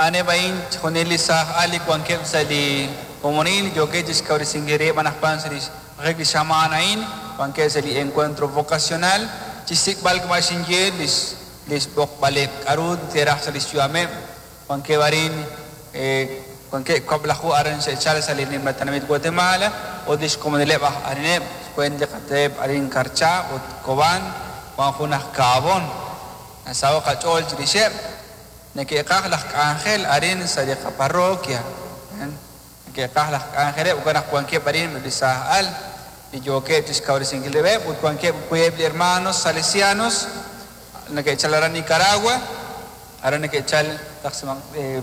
A'aneb' a'in chixjunil li saaj al li wankeb' sa' li komonil yookeb' chixkawresinkil rib' anaqwan sa' lix raqik li xamaan a'in, wankeb' sa' li encuentro vocacional chixsik'b'al kama' xinye lix lix b'oqb'aleb' k'a'ru te'raj sa' lix yu'ameb'. Wankeb' arin wankeb' kab'laju aran xe'chal sa' li nimla tenamit Guatemala ut lix komonileb' aj arineb' xweent li qateep arin Carchá ut Cobán, wan jun aj Cahabón. Nasaho' qach'ool chirixeb'. Neke'qaj laj k'anjel arin sa' li qaparroquia. Neke'qaj laj k'anjeleb' jo'kan naq wankeb' arin eb' li saaj al li yookeb' chixkawresinkil rib'eb' ut wankeb' wiib' li hermanos salesianos neke'chal aran Nicaragua, aran neke'chal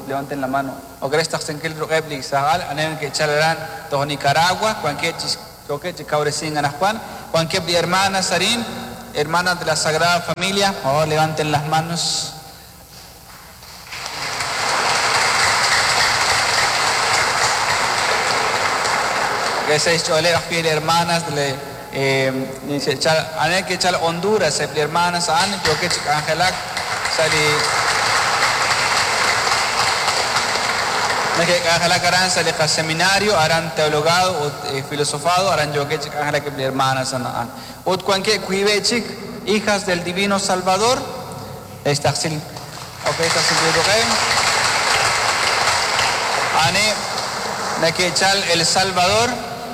levanten la mano ok re xtaqsinkil ruq'eb' li saaj al, a'aneb' neke'chal aran toj Nicaragua, wankeb' chix yookeb' chi kawresink anaqwan, wankeb' li hermanas arin, hermanas de la Sagrada Familia, por favor levanten las manos. Sa' xch'ooleb' ajwi' li hermanas li xe'chal a'aneb' ke'chal Honduras eb' li hermanas a'an yookeb' chi k'anjelak sa' li neke'k'anjelak aran sa' li qaseminario aran teologado ut filosofado aran yookeb' chi k'anjelak eb' li hermanas a'an ut wankeb' wiib'eb' chik hijas del Divino Salvador xtaqsil ok xtaqsinkil ruq'eb' a'aneb' neke'chal El Salvador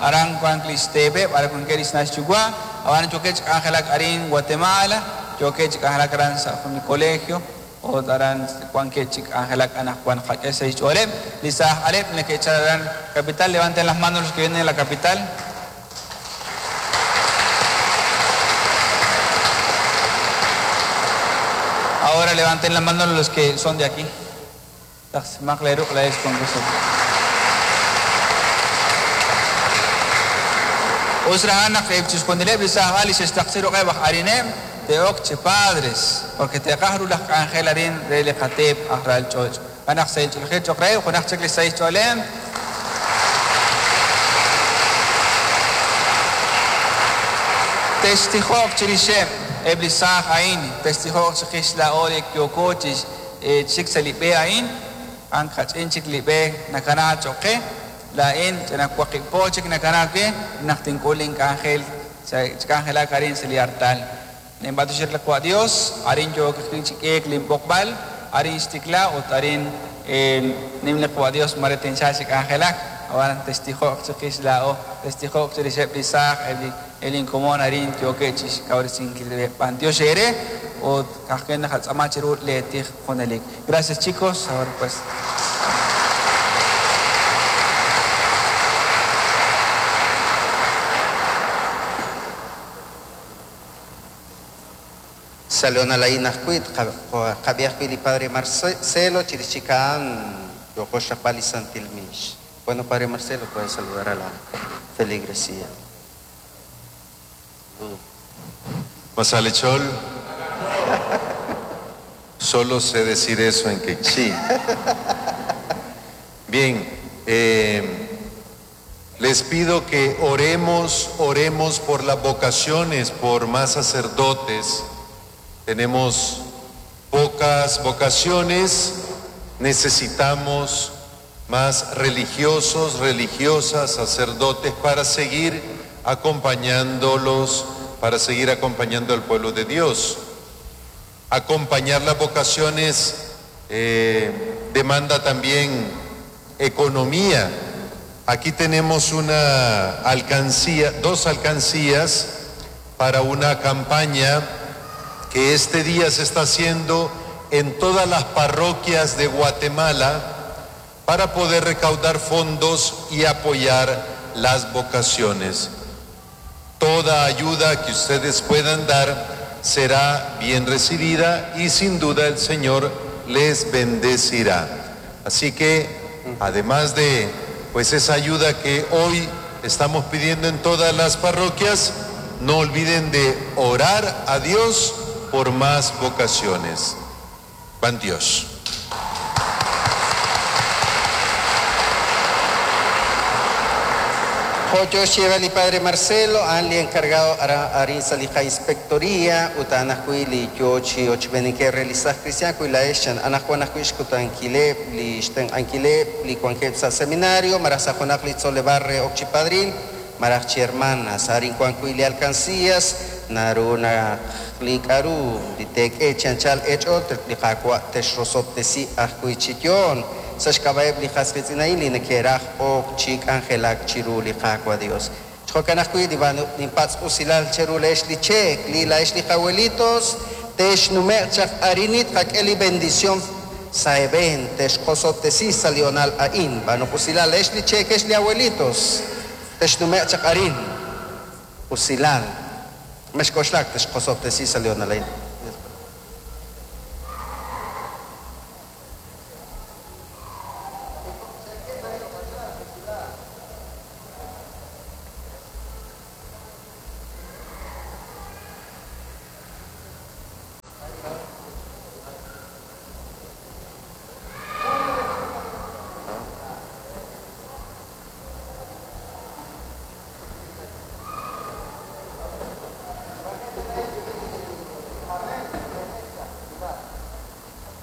aran wank li xteepeb' aran wankeb' li xna' xyuwa' ab'an yookeb' chi k'anjelak arin Guatemala yookeb' chi k'anjelak aran sa' jun li colegio ut aran wankeb' chi k'anjelak anaqwan qak'e sa' xch'ooleb' li saaj aleb' neke'chal aran capital. Levanten las manos los que vienen de la capital. Ahora levanten la mano los que son de aquí. Us rajan naq chixjunileb' li saaj al li xe'xtaqsi ruq'eb' aj arineb' te'ok chi padres, porque te'qaj ru laj k'anjel arin re li qateep aj ral ch'och'. Anaq sa' ch'oolejil cho'q re junaq chik li sa' xch'oolem. Textijo'q chirixeb' eb' li saaj a'in, textijo'q chiqix laa'o li yooko chik sa' li b'e a'in, an kach'in chik li b'e nakana cho'q qe, laa'in ch'ina waqib' po chik nakana we naq tink'ul ink'anjel chik'anjelak arin sa' li artal. Ninb'antioxik li Qwa' Dios, arin yook chik'eek linb'oqb'al, arin xtikla ut arin nim li Qwa' Dios mare tinchal chik'anjelak, ab'an textijo'q chiqix laa'o, textijo'q chirixeb' li saaj eb' linkomon arin yookeb' chixkawresinkil rib'eb'. B'antiox eere ut ka'ajwi' naqatz'aama chiru leetij junelik. Gracias chicos, ahora pues. Salona la inajwi' qab'i ajwi' li Padre Marcelo chirix chik a'an yooqo xraqb'al li Santil Miix. Bueno, Padre Marcelo, puede saludar a la feligresía. Masalechol, solo sé decir eso en quechí. Bien, les pido que oremos, oremos por las vocaciones, por más sacerdotes. Tenemos pocas vocaciones, necesitamos más religiosos, religiosas, sacerdotes para seguir acompañándolos, para seguir acompañando al pueblo de Dios. Acompañar las vocaciones demanda también economía. Aquí tenemos una alcancía, dos alcancías para una campaña que este día se está haciendo en todas las parroquias de Guatemala para poder recaudar fondos y apoyar las vocaciones. Toda ayuda que ustedes puedan dar será bien recibida y sin duda el Señor les bendecirá. Así que, además de pues esa ayuda que hoy estamos pidiendo en todas las parroquias, no olviden de orar a Dios por más vocaciones. Van Dios. Jo' yo xyeeb'al li Padre Marcelo, a'an li encargado arin sa' li qainspectoría ut a'an ajwi' li yo chi ochb'eenikeb' re li saaj cristiano wi laa'ex chan anaqwan ajwi' xkutankileb' li xtenq'ankileb' li wankeb' sa' seminario malaj sa' junaq li tzoleb'aal re ok chi padrin malaj chi hermanas. Arin wan wi' li alcancías naru naq li k'a'ru li teek'e chi anchal eech'ool li Qaawa' texrosob'tesi ajwi' chi yoon sa' xk'ab'a'eb' li qas qiitz'in a'in li neke'raj ok chi k'anjelak chiru li Qaawa' Dios. Jo'kan ajwi' ninpatz' usilal cheru leex li cheek, li laa'ex li qawelitos, texnume'q chaq arinit qak'e li bendición sa' eeb'een, texqosob'tesi sa' li honal a'in. B'aanu usilal leex li cheek, ex li abuelitos, texnume'q chaq arin. Usilal. Mexk'oxlak texqosob'tesi sa' li honal a'in.